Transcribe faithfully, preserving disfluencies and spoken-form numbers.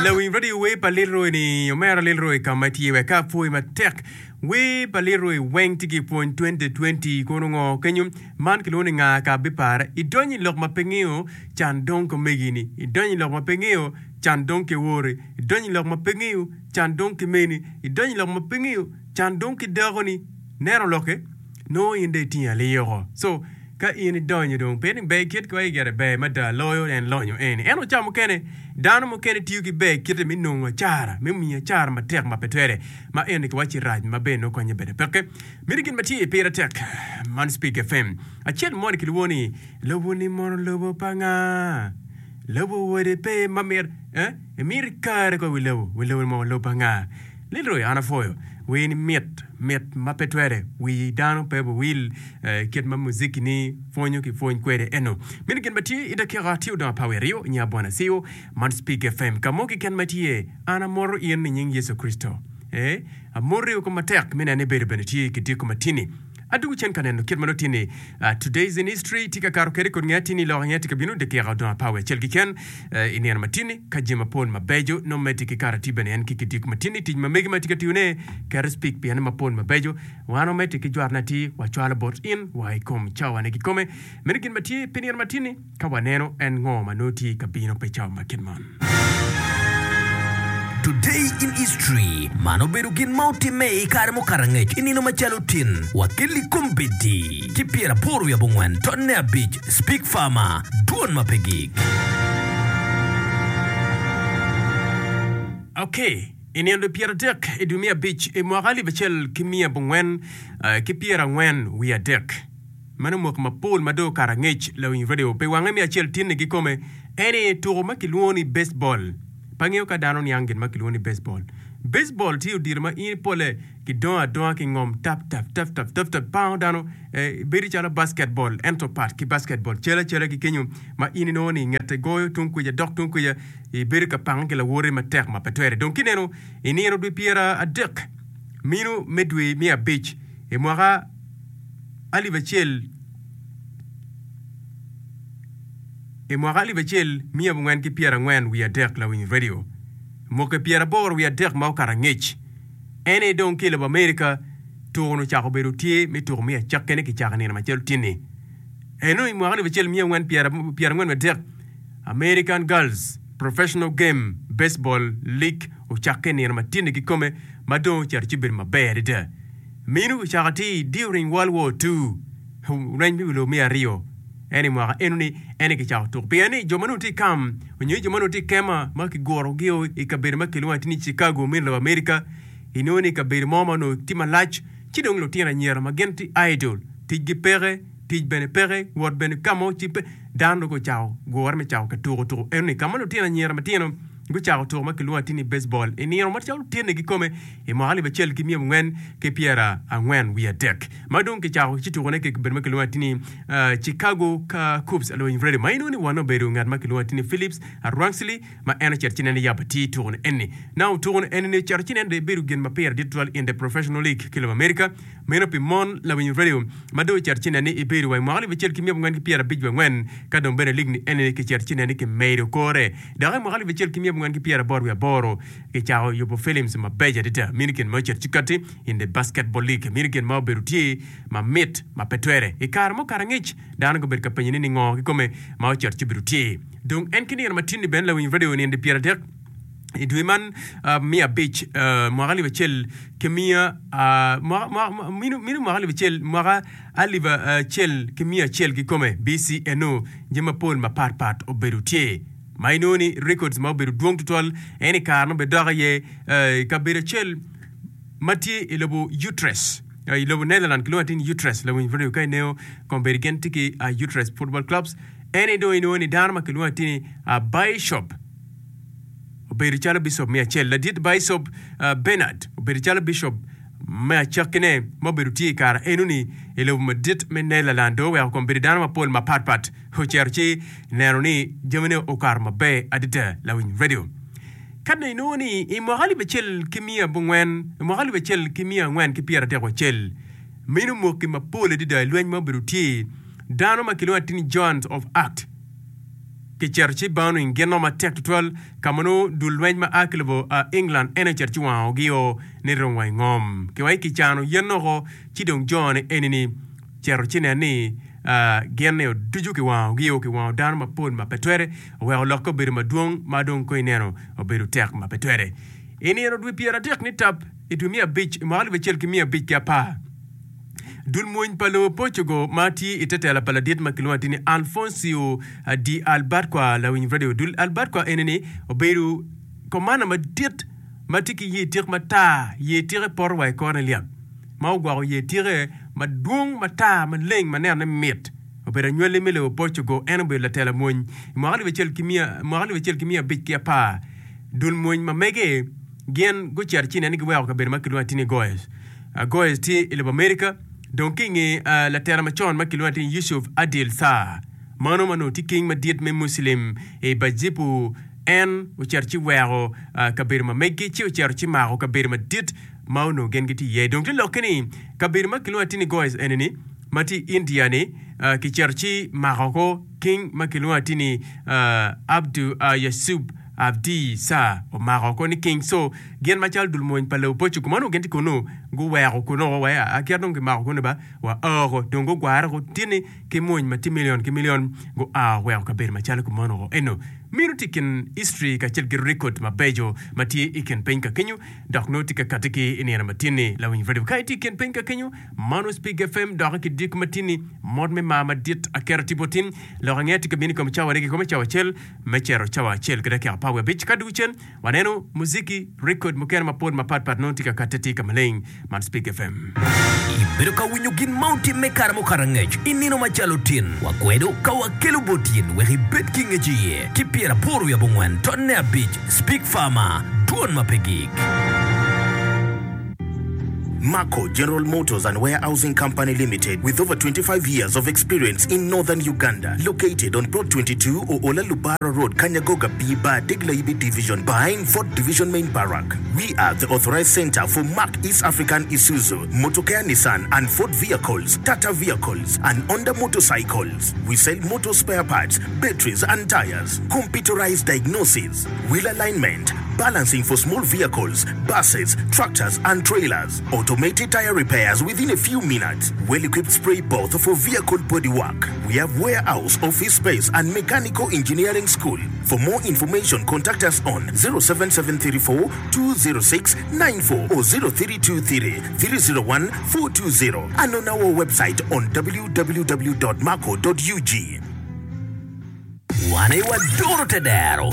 Lawiny radio wer pa Leroy ni omera Leroy ka ma tye wek ka apwoyi matek. Wer pa Leroy weng tye ki pwony twenty twenty kono ngo kenyo man kilwongo ni nga ka bipare idonyo i lok ma pe ngeyo can dong ki omegi ni idonyo i lok ma pe ngeyo can dong ki wori idonyo i lok ma pe ngeyo can dong ki meni idonyo i lok ma pe ngeyo can dong ki dako ni neno lokke nongo in dong itingo aliyoko so Ka in idonyo dong, pien ni ber kit ki wa igere ber mada loyo en lonyo eni. Ento ca mukene, dano mukene tiyo ki ber kite me nongo acara, me miyo acara matek ma pe twere, ma eni kiwacci rac ma bene nongo konye bene peke. Miti gin ma tye pire tek, man Speak FM. Acel moni kilwongo ni, Lobo ni mono lobo pa nga? Lobo wode pe ma mit, eh? Imito ikare kong i wi lobo, wi lobo ni mono lobo pa nga? Leroy, an apwoyo. Wer ni mit, mit ma pe twere. Wi dano pe biwil kit ma muziki ni pwonyo ki pwony kwede eno. Meno gin ma tye i dakika tye odong apar wiye aryo nyo abona siu man Speak FM. Ka mo keken ma tye, an amoto in i nying Yecu Kricito. Ee, amoti woko matek me neno ni ibedo bene tye ki diko matini. Adwogo cen ka neno kit ma nongo tye ni Today's in History tye ka kato kwede kod nge atir ni lok nge tye ka bino dakika odong apar wiye acel keken i nino matini ka jami mapol mabeco nongo medde ki kato atir bene en ki kidiko matini tic ma megi ma tye ka tiyone keto speak piene mapol mabeco wan wamedde ki jwarone atir wacwalo bot in wa i kom cawane kikome meno gin ma tye pi nino matini. Ka waneno en ngo ma nongo tye ka bino pi cawa ma kit man. Today in History, Man obedo gin ma otimme i kare mukato angec i nino macalo tin wa kelli kombeddi ki pyeraboro wiye abongwen tonne abic Speak Farmer, Dwon ma pe gik. Ok, i nino dwe pyeradek i dwe me abic i mwaka alip acel ki miya abongwen ki pyerangwen wiye adek, Meno mwaki mapol ma dong okato angec, lawiny radio pi wange me acel tinni kikome en aye tuko ma kilwongo ni baseball. Pe angeyo ka dano niang gin ma kilwongo ni baseball. Baseball tye odilo ma in pole kidongo adonga ki ngom tap tap tap tap tap tap pango dano eh, bedo calo basketball ento pat ki basketball cal acala ki kenyo ma in inongo ni ngete goyo tung kwica dok tung kwica ibedo ka pange ki lawoti matek ma pe twere. Dong kineno i nino dwe pyera adek mino me dwe me abic i mwaka alip acel i mwaka alip acel miya abongwen ki pyerangwen wiye adek lawiny redio mwaki pyeraboro wiye adek ma okato angec en aye dong ki i lobo Amerika tuko-nu ocako bedo tye me tuko me acakkine kicako i nino macalo tye-ni eno i mwaka alip acel miya angwen pyerangwen wiye adek American Girls Professional Game Baseball League ocakke i nino ma tye-ni kikome ma dong ocito ci obedo maber adada. Minu ocako atir during World War Two, lweny me wi lobo me aryo. Ento i mwaka enoni en aye kicako tuko pien ni jo ma nongo tye i kam nyo jo ma nongo tye i kema ma kigurogi i kabedo ma kilwongo atir ni Chicago me lobo Amerika, inongo ni kabedo mo ma onongo tye malac ci dong lutino anyira ma gin tye idle, ticgi peke, tic bene peke, wot bene ka mo ci pe, dano dong gucako gure me cako ka tuko tuko enoni ka ma lutino anyira matino gucako tuko ma kilwongo atir ni baseball i nino macalo tyene kikome i mwaka alip acel ki miya abongwen ki pyera angwen wiye adek ma dong kicako ci tukone ki kabedo ma kilwongo atir ni Chicago Cubs alony radio ma inongo ni one obedo ngat ma kilwongo atir ni Phillips Rangsley ma en ocito ci neno yabo atir tukone eni. Now tukone eni ni ocito ci neno dong ebedo gin ma pire dit tutwal in the professional league ki lobo America meno pi mon lawiny radio ma dong ocito ci neno ni ebedo wa i mwaka alip acel ki miya abongwen ki pyera abic wiye angwen ka dong bene league ni eni kicito ci neno ni kimedo kore Dok i mwaka alip acel ki miya abongwen ki pyeraboro wiye aboro, kicako yubo films mabeco adada. Mini gin ma ocito ci katti in the Basketball League. Mini gin ma obedo tye mamit ma pe twere. I kare mukato angec, dano gubedo ka penyo ni ningo kikome ma ocito ci obedo tye. Dong en ki nino matin-ni bene lawiny radio nino pyeradek i dwe man me abic mwaka alip acel ki miya mino mwaka alip acel mwaka alip acel ki miya acel kikome B C eno jami mapol mapat pat obedo tye. Ma inongo ni records ma obedo dwong tutwal en i kare ma obedo dok aye i kabedo acel ma tye i lobo Utrecht i lobo Netherlands kilwongo atir ni Utrecht lawiny radio ka ineno kombeddi gin tye ki Utrecht football clubs en aye dong inongo ni dano ma kilwongo atir ni Bishop obedo calo bicop me acel ladit Bicop Bernard obedo calo bicop me acakkine ma obedo tye i kare enoni i lobo madit me Netherlands dong oweko kombeddi dano mapol mapatpat ocito ci neno ni jamine okato maber adada. Lawiny Radio. Ka dong inongo ni i mwaka alip acel ki miya abongwen, i mwaka alip acel ki miya angwen ki pyeradek wacel, meno mwaki mapol adada i lweny ma obedo tye, dano ma kilwongo atir ni Joan of Arc Kicito ci bowning gin no matek tutwal ka ma nongo dul lweny ma a ki lobo England en aye ocito ci wangogi-o ni rong wa i ngom. Kiwaci kicano yen oko ci dong jo-ni eni-ni cito ci nen ni gin-ni ducu kiwangogi-o, kiwango dano mapol ma pe twere oweko lokke obedo madwong ma dong kong ineno obedo tek ma pe twere. I nino dwe pyeradek nitap i dwe me abic i mwaka alip acel ki miya abic ki apar, Dul mony pa lobo Portugal ma tye i te tela pa ladit ma kilwongo atir ni Alfonso de Albuquerque lawiny radio. Dul Albuquerque eni-ni obedo komanda madit ma tye ki yer tik matar, yer tike poto wa i kore lyap, ma ogwoko yer tike madwong matar maleng ma nenone mit. Obedo anywali me lobo Portugal, en obedo latela mony i mwaka alip acel ki miya abic ki apar. Dul mony ma mege gin gucito ci inen ni giweko kabedo ma kilwongo atir ni Goes. Goes tye i lobo Amerika. Dong ki i nge latela macon ma kilwongo atir ni Yusuf Adil Shah, mano ma onongo tye king madit me Muslim i Bajipu, en ocito ci weko kabedo ma megi ci ocito ci mako kabedo madit ma onongo gin gitye iye. Dong te lokke ni kabedo ma kilwongo atir ni Goes eni-ni ma tye i India ni kicito ci mako ko king ma kilwongo atir ni Abdu Yasub Abdi Shah omako ko ni king. So gin macalo dul mony pa lobo Portugal ma onongo gin tye kunu guweko kunu wai akit dong kimako kunu ba wa oko dong gugware ko tye-ni ki mony ma tye milion ki milion gua weko kabedo macalo kumeno oko. Eno meno tye i kin history kacel ki record mabeco ma tye i kin piny ka kenyo dok nongo tye ka kati ki i nino ma tye-ni lawiny radio. Ka itye i kin piny ka kenyo mano Spig FM doki ki diko ma tye-ni mot me mar madit aketo tipo tin lok angeya tye ka bino i kom cawa aryo kikome cawa acel me cito cawa acel ki dakika apar wiye abic. Ka dugu cen waneno muziki rekod mukene mapol mapat pat nongo tye ka katte tye ka maleng. Man Spik FM. Ibedo ka winyo gin ma otimme i kare mukato angec i nino macalo tin. Wakwedo ka wakelo bot in wek ibed ki ngec iye ki pyeraboro wiye abongwen tonne abic Speak Farmer, Dwon ma pe gik. Marco General Motors and Warehousing Company Limited with over twenty-five years of experience in Northern Uganda located on Plot twenty-two Oola Lubara Road Kanyagoga B Bar Degla-Ibi Division behind Fort Division Main Barrack. We are the authorized center for Mack East African Isuzu, Motokea Nissan and Ford vehicles, Tata vehicles and Honda motorcycles. We sell motor spare parts, batteries and tires, computerized diagnosis, wheel alignment, balancing for small vehicles, buses, tractors and trailers, automated tire repairs within a few minutes, well-equipped spray booth for vehicle body work. We have warehouse, office space and mechanical engineering school. For more information contact us on zero seven seven three four two zero six nine four or zero three two three three zero one four two zero and on our website on www dot marco dot ug. Wan aye wadoro te dero.